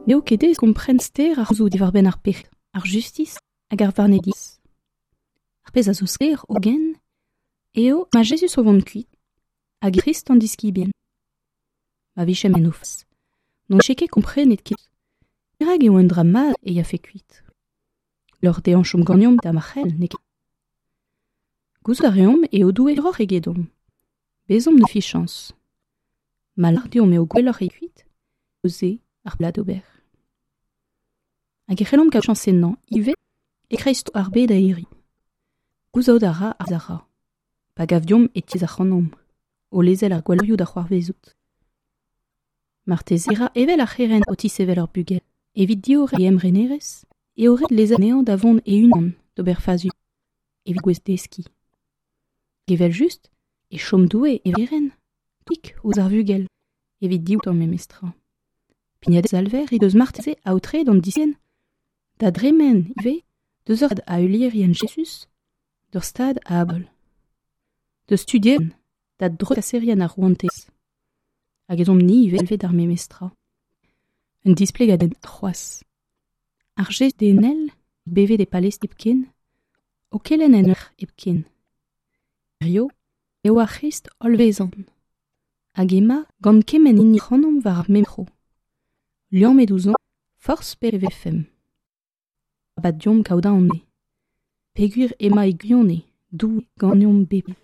N'eo ket aes kompren ster ar c'homzoù diwar-benn ar pec'hed, ar justis hag ar varnedigezh. Ar pezh a zo sklaer hogen eo ma Jezuz o vont kuit hag Krist an diskibien. Ma vijemp en o fas, n'hon dije ket komprenet ket perak eo un dra mat e yafe kuit. Lors dezhañ chom ganeomp da ma c'hell, n'eo ket. Gouzout a reomp eo Doue hiroc'h egedomp. Bezomp ne fichañs. Ma lâr deomp eo gwelloc'h e kuit, eo se ar plat d'ober. Hag e c'hellomp kaout chañs ennañ ivez e-kreiz ar bed a hiriv. Gouzout a ra ar ra. Pa gav deomp e tizh ac'hanomp, o lezel ar gwalleurioù da c'hoarvezout. Marteze e ra evel ar c'herent o tisevel ur bugel. Evit diorren e emrenerezh eo ret lezel anezhañ da vont e-unan d'ober fazi evit gouest deskiñ. Evel-just e chom Doue e ren tik ouzh ar vugel evit diouto memestra. Pignat Salver he deus marteze aotreet an diskenn da dremen ivez deus ur a heulierien Jezuz d'ur stad a abol. Deus studien da dreuzkaserien ar rouantez. Hag ez omp-ni ivez galvet d'ar memes tra. Un displegadenn c'hoazh. Ar gest denel, bevet e palez hepken, o kelenn en ur hepken. Hirio eo ar C'hrist hollvezant. Hag ema gant kement hini ac'hanomp war ar memes tro. Liammet ouzhomp forzh pe e vefemp. Arabat deomp kaout aon eo. Peogwir ema e gwirionez Doue ganeomp bepred.